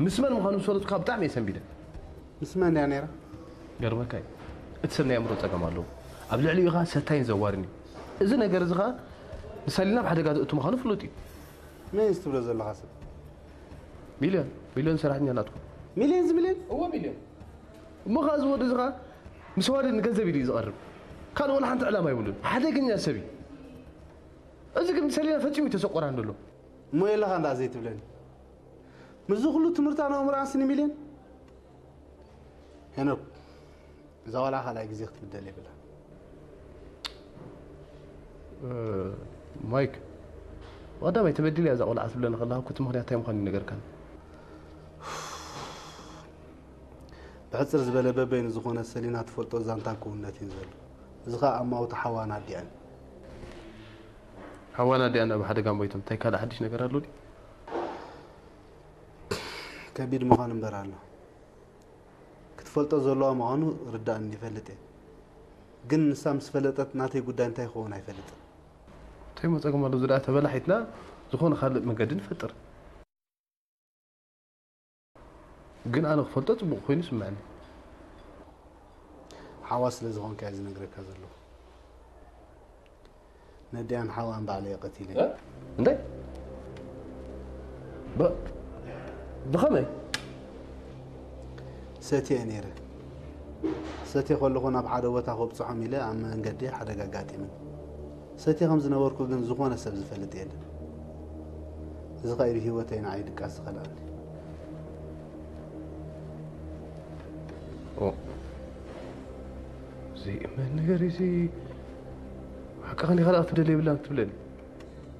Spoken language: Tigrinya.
ምስ መን ምዃኑ ምስ ፈለጥኩ ብጣዕሚ እየ ሰንቢደ። ምስ መን ድያ ነይራ? ገርመካ እዩ፣ እቲ ሰብ ናይ ኣእምሮ ጸገም ኣለዎ። ኣብ ልዕሊኡ ኸኣ ሰታይን ዘዋርን እዩ። እዚ ነገር እዚ ኸኣ ንሳሊና ኣብ ሓደጋ ዘእቱ ምዃኑ ፍሉጥ እዩ። መን እዩ ትብሎ ዘለኻ ሰብ? ሚልዮን ሚልዮን ሰራሕተኛ ናትኩም። ሚልዮን ዝሚልዮን? እዎ ሚልዮን። እሞ ኸኣ እዚ ወዲ እዚ ኸኣ ምስ ዋዲ ንገንዘብ ኢሉ እዩ ዝቐርብ። ካልእ ወላ ሓንቲ ዕላማ የብሉን። ሓደገኛ ሰብ እዩ። እዚ ግን ሰሊና ፈጺሙ ተሰቆራን ዘሎ። እሞ የለኻ እንዳ ዘይትብለኒ። ምስዚ ኩሉ ትምህርታን ኣእምሮኣን ስኒ ሚልዮን? ሄኖክ፣ እዛ ቆልዓ ካልኣይ ግዜ ክትብደል የብላ። ማይክ፣ ብቐዳማይ ተበዲለ እያ እዛ ቆልዓ ትብለኒ ከለኻ እኮ እቲ ምኽንያት እንታይ ምዃኑ ይነገርካን። ብሕፅር ዝበለ በበይኑ ዝኾነ ሰሊና ትፈልጦ ዛንታን ክውንነትን ዘሎ። እዚ ኸዓ ኣማውቲ ሓዋን ኣዲኣን። ሓዋን ኣዲኣን ኣብ ሓደጋ ሞይቶም እንታይ ካልእ ሓድሽ ነገር ኣሎ ድዩ? ከቢድ ምዃኑ እምበር ኣሎ። ክትፈልጦ ዘለዋ ምዃኑ ርዳእኒ ይፈልጥ እየ። ግን ንሳ ምስ ፈለጠት ናተይ ጉዳይ እንታይ ክኸውን ኣይፈልጥን። እንታይ ሞ ጸገም ኣሎ? ዝኣ ተበላሒትና ዝኾነ ካልእ መገዲ ንፈጥር። ግን ኣነ ክፈልጦ ጽቡቕ ኮይኑ ይስምዐኒ። ሓዋ ስለ ዝኾንካ እየ ዝነግረካ ዘለኹ። ነዲኣን ሓዋን ባዕለ እየ ቀቲለ። እንታይ? ብ- ብኸመይ? ሰትየ ነይረ። ሰትየ ከለኹ ናብ ሓደ ቦታ ከብፅሖም ኢለ ኣብ መንገዲ ሓደጋ ኣጋጢምን። ሰትየ ከም ዝነበርኩ ግን ዝኾነ ሰብ ዝፈልጥ የለን። እዚ ኸኣ ብህይወተይ ንዓይ ድቃስ ዝኸልኣኒ። ኦ፣ እዚ መን ነገር እዚ ሓቅኻ ዲኻ ደኣ ክትደሊ የብላን ክትብለኒ?